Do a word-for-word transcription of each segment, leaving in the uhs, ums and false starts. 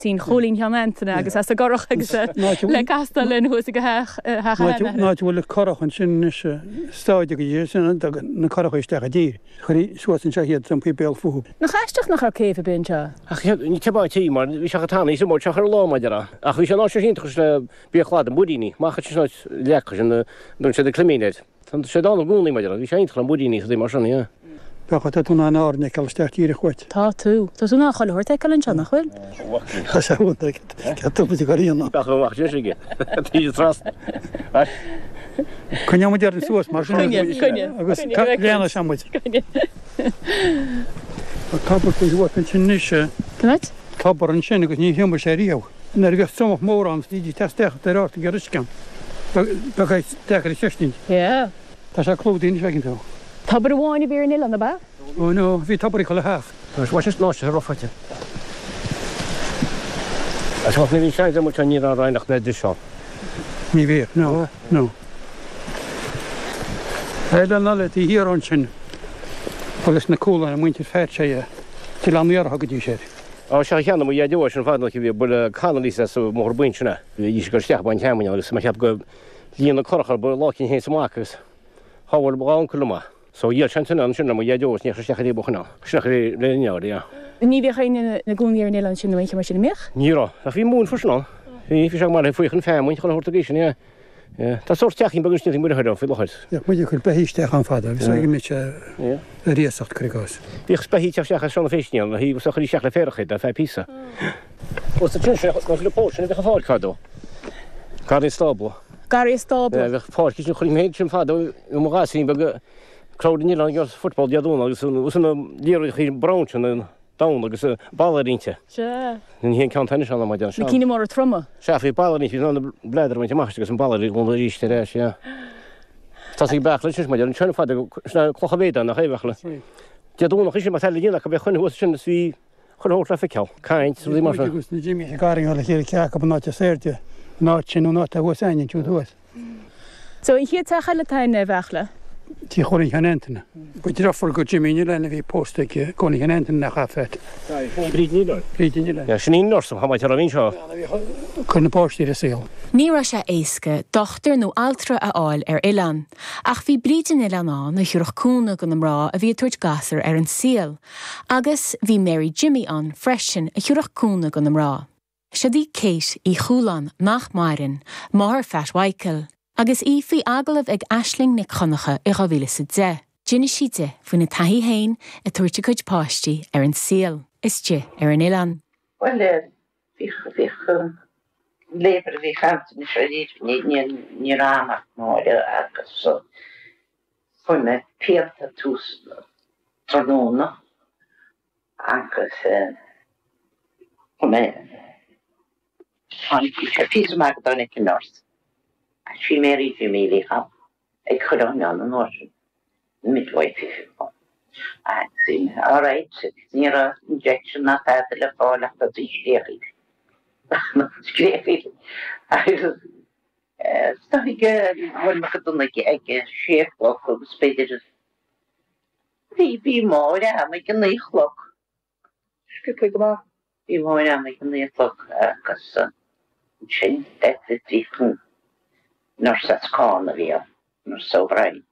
Tí Chóilín Sheáin Antaine agus as an gcurach agus le castáil linn thuas ag theach Ná bhfuil curach ansin is stáide go sin na curacha isteach i dtír. Chuirí suas anseo iad san béal fúthu. Nach aisteach nach raibh céibh ar bith anseo? Ach ní tebá tí mar bhí se tanna sem se ar lá maidir ach bhí sé ná sé iontach le bí chlad an buiríní, Mach sin lecha sin don sé de climíid. Tá sé dá gúnaí maidir bhí sé iontach an buiríní sa mar sin yeah. Becha tú an áirne ceil isteach tíre chuit. Tá tú Tá tú ná choil thuirt an seo nach bhfuil? Tá sé go Bach sé tras. Coinne dear suas mar sin agus léana semuid. Tobar faoi ansin is Cad? Tobar ansin agus ní hiomar sé riamh. Nuair a bheith somach mórán ní teisteach ar ort go riscan. Be deacair cheistin. Yeah. Tá sé clúdaithe feiceann tú. Tobar amháin a bhí ar an oileán ab ea? Ó no, bhí tobar chuile theach. Tá sé ná sé rofáite. A ní bhí sé mu ní raineach le de seo. Ní bhí, no, no. Eile na le tí hir ansin agus na cúla muintir fé sé til an ar go dtí sé. Á se cheanna mu dheó sin fad bhí bu canalí sa mór buin sinna. Bhí go steach bain cean agus mar cheap go líon na corchar bu lácin héin amach agus háhfuil b an So dhíol sin an sin mu dheó ní steach buchna sinna le neir. Ní bhíodh éinne ina gcónaí ar an oileán sin nó mar sin mbíodh? Ní raibh a bhí mún freisin ann. Bhí bhí sé mar faoi chun femuin chun thuirta sin é. Tá sórt teachín beag sin mu chuir faoi láthair. Muid chun beithígh an fada, bhí sé mit a ríosacht chuigás. Bhíodh beithígh teach seanna féistíí hí sa chuí seach le féarchaid a fe písa. Os sin sé le pó sin bheith a fáil cadó. Garraí stábla. Garraí stábla. Bheadh páirc sin chuir méid sin fada ó mo ghasín beag crowd ní an football deadún agus na líir brown sin an down agus ballarínte. Se. Ní híon cean tennis an mar Na cinn móra troma. Se bhí ballarí an bleidir bhaint amach agus an ballarí ón ríiste éis. Tá sí becha sin mar an tsean fada sna clocha bhéada nach éhechle. Deadúnach is mar eile go bheith chun thuas sin bhí chun hóla feiceáil. Caint mar sin. Agus na Jimmy garing le chéile ceacha an áit sairde an áit sin an áit a thuas aine tú thuas. So an chéad teach eile atá in Bheachla? Tí Chóilín Sheáin Antaine. Ba deirfiúr go Jimmy ní lena bhí pósta aici Cóilín Sheáin Antaine nach fét. Bríd ní Bríd ní Ja sin íon nurse ha ar a bhín seo. Chun na páistí a saol. Ní raibh sé éasca dochtúir nó altra a fháil ar oileán, ach bhí Bríd an Oileáin ann a thabharfadh cúnamh do na mná a bhí ag tabhairt gasúr ar an saol, agus bhí Mary Jimmy ann freisin a thabharfadh cúnamh do na mná. Siod í Kate Uí Chualáin nach maireann, máthair Phat Mhichael, agus í faoi agallamh ag Aisling Nic Choncha i dhá mhíle is a deich. D'inis sí di faoina taithí féin ag tabhairt a cuid páistí ar an saol, istigh ar an oileán. Well bhí bhí labour bhí chaint se ní ráach máide agus fuair mé pianta tús tráthnóna agus mé sé pí amach don an nurse. Bhí Mary Jimmy bhí ag chur an an an sin midwife. All right, ní raibh injection ná tada le fáil ach tá scréachaigh. Scréachaigh agus bhfuil me go ag ag sé cloch agus b'fhéidir bhí bhí máir am ag an naoi cloch. Sciobtha go maith. Bhí máir am ag an naoi cloch agus sin bhí chun nurse as Carna bhí nurse O'Brien.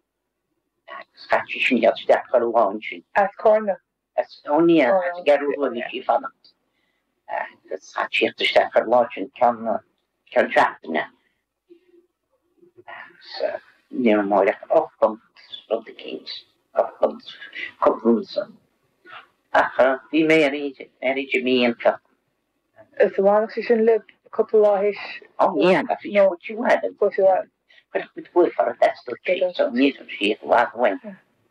Agus chaith sin iad isteach ar amháin sin. As Carna? As ó ní as Gearú bhí sí fanacht. Agus chaith siad isteach ar lá sin ceann ceann seachtaine. Agus ní raibh máir ach ocht bpunt rud eicínt, ocht bpunt cúpla Ach bhí Mary Mary Jimmy iontach. Is a bhaineadh sé sin le cúpla lá théis? Ó ní bhí sí bhfuil. Chuir muid buailfear a so ní sí bhfad bhain.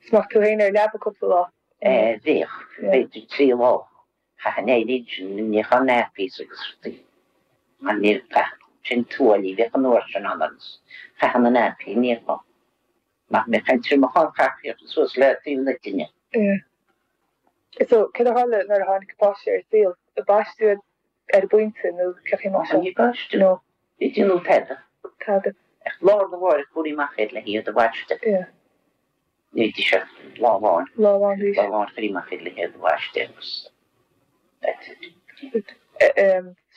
Smach tú féin ar leaba cúpla lá? Bhíodh, b'fhéidir trí lá. Chaithfinn éirí sin ní an nappies agus rudaí. Mar ní sin tuaillí bheadh an uair sin ann agus chaithfinn na nappy ní Nach mé chaint mo chun chaithfeadh suas le taobh na tine. So cad a tharla nuair a tháinig páiste ar saol, baisteadh ar an bpointe nó cé mar seo? Ní baisteadh. No. Ní déanadh tada. Tada. Ach lá na bháir chuaigh amach iad le hiad a bhaisteadh. Ní dí se lá amháin. Lá amháin Lá amháin chuaigh amach iad le hiad a bhaisteadh agus that's it.